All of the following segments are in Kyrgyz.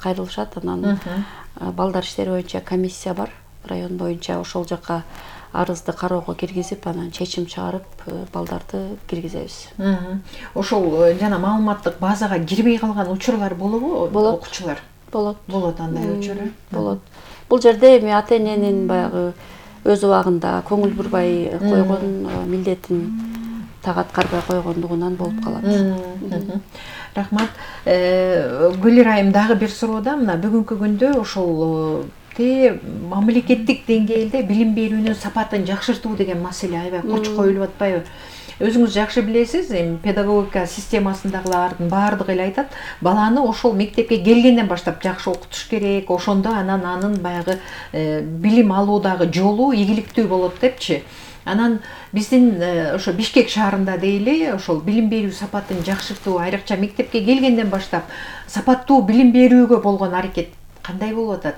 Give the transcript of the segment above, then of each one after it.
кайрылышат. Анан балдар иштери боюнча комиссия бар район боюнча, ошол жака арызды кароого киргизип, анан чечим чыгарып балдарды киргизебиз. Ошол жана маалыматтык базага кирбей калган учурлар болобу? Окуучулар болот андай учур. Болот. Бул жерде эми ата-эненин баягы өз убагында көңүл бурбай койгон милдетин так аткарбай койгондугунан болуп калат. Рахмат. Гүлир айым, дагы бир суроо да, мына бүгүнкү күндө ошол мамлекеттик деңгээлде билим берүүнүн сапатын жакшыртуу деген маселе аябай коч коюлуп атпайбы? Өзүңүз жакшы билесиз, эми педагогика системасындагылардын баардыгы эле айтат, баланы ошол мектепке келгенден баштап жакшы окутуш керек, ошондо анын баягы билим алуудагы жолу ийгиликтүү болот депчи. Анан биздин ошо Бишкек шаарында дейли, ошол билим берүү сапатын жакшыртуу, айрыкча мектепке келгенден баштап сапаттуу билим берүүгө болгон аракет кандай болуп атат?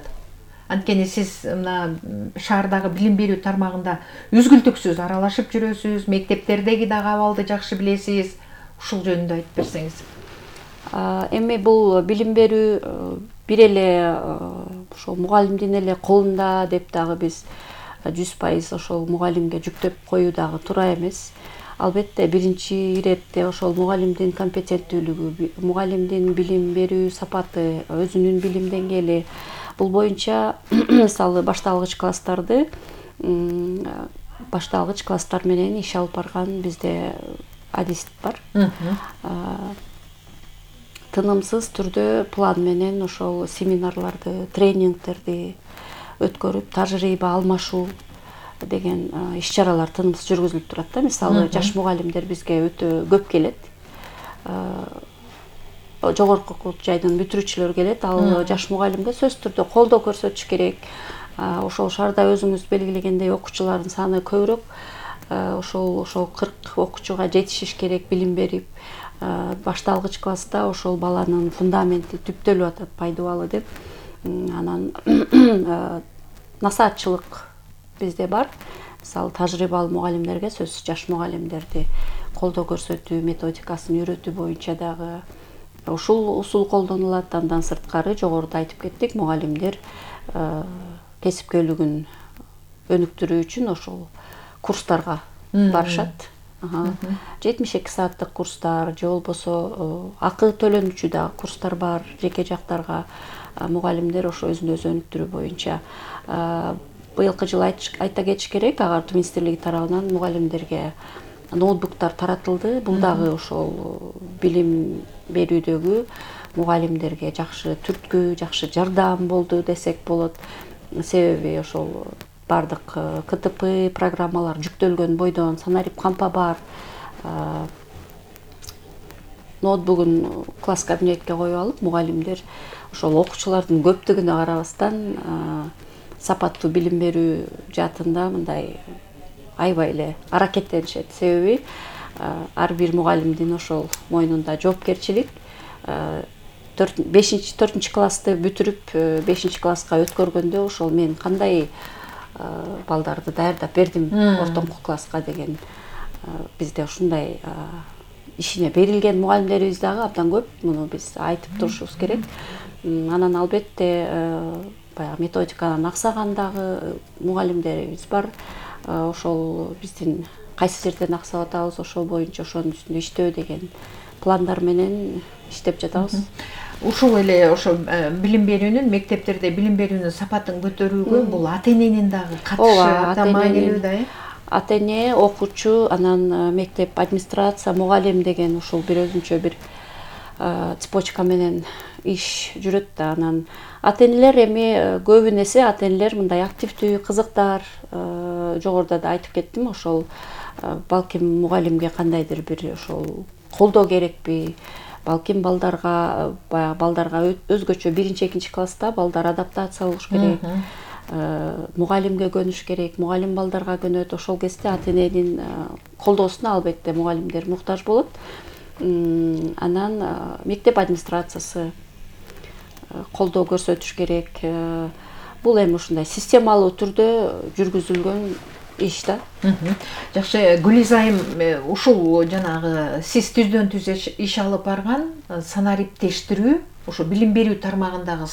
Анткени сиз мына шаардагы билим берүү тармагында үзгүлтүксүз аралашып жүрөсүз, мектептердеги дагы абалды жакшы билесиз. Ушул жөнүндө айтып берсеңиз. Эми бул билим берүү бир эле ошол мугалимдин эле колунда деп дагы биз 100% ошол мугалимге жүктөп коюу дагы туура эмес. Албетте биринчи иретте ошол мугалимдин компетенттүүлүгү, мугалимдин билим берүү сапаты, өзүнүн билим деңгээли, бул боюнча мисалы башталгыч класстар менен иш алып барган бизде адист бар. Тынымсыз түрдө план менен ошол семинарларды, тренингтерди өткөрүп, тажрыйба алмашуу деген иш-чаралар тынымсыз жүргүзүлүп турат да. Мисалы жаш мугалимдер бизге өтө көп келет. Жогорку окуу жайдын бүтүрүүчүлөр келет. Ал жаш мугалимге сөзсүз түрдө колдоо көрсөтүш керек. Ошол шаарда өзүңүз белгилегендей окуучулардын саны көбүрөөк. Ошол 40 окуучуга жетишиш керек билим берип. Башталгыч класста ошол баланын фундаменти түптөлүп атат, пайдубалы деп. Анан насаатчылык бизде бар. Мисалы тажрыйбалуу мугалимдерге сөзсүз жаш мугалимдерди колдоо көрсөтүү методикасын үйрөтүү боюнча дагы ушул усул колдонулат. Андан сырткары жогоруда айтып кеттик, мугалимдер кесипкөйлүгүн өнүктүрүү үчүн ошол курстарга барышат. 72 сааттык курстар же болбосо акы төлөнүүчү дагы курстар бар. Жеке жактарга мугалимдер ошо өзүн өзү өнүктүрүү боюнча. Быйылкы жылы айта кетиш керек, Агартуу министрлиги тарабынан мугалимдерге ноутбуктар таратылды. Бул дагы ошол билим берүүдөгү мугалимдерге жакшы түрткү, жакшы жардам болду десек болот. Себеби ошол бардык КТП программалар жүктөлгөн бойдон санарип кампа бар. Ноутбугун класс кабинетке коюп алып, мугалимдер ошол окуучулардын көптүгүнө карабастан сапаттуу билим берүү жаатында мындай аябай эле аракеттенишет. Себеби ар бир мугалимдин ошол мойнунда жоопкерчилик. 4 классты бүтүрүп 5 класска өткөргөндө ошол мен кандай балдарды даярдап бердим ортоңку класска деген бизде ушундай ишине берилген мугалимдерибиз дагы абдан көп. Муну биз айтып турушубуз керек. Анан албетте баягы методиканан аксаган дагы мугалимдерибиз бар. Ошол биздин кайсы жерден аксап атабыз, ошол боюнча ошонун үстүндө иштөө деген пландар менен иштеп жатабыз. Ушул эле ошо билим берүүнүн, мектептерде билим берүүнүн сапатын көтөрүүгө бул ата-эненин дагы катышы абдан маанилүү да. Ата-эне, окуучу, анан мектеп администрация, мугалим деген ушул бир өзүнчө бир цепочка менен иш жүрөт да. Анан ата-энелер эми көбүн эсе ата-энелер мындай активдүү, кызыктар. Жогоруда да айтып кеттим, ошол балким мугалимге кандайдыр бир ошол колдоо керекпи, балким балдарга өзгөчө 1-2 класста балдар адаптация болуш керек. Мугалимге көнүш керек, мугалим балдарга көнөт. Ошол кезде ата-эненин колдоосуна албетте мугалимдер муктаж болот. Анан мектеп администрациясы колдоо көрсөтүш керек. Бул эми ушундай системалуу түрдө жүргүзүлгөн иш да. Жакшы, Гүлиза айым, ушул жанагы сиз түздөн түз иш алып барган санариптештирүү, ошо билим берүү тармагындагы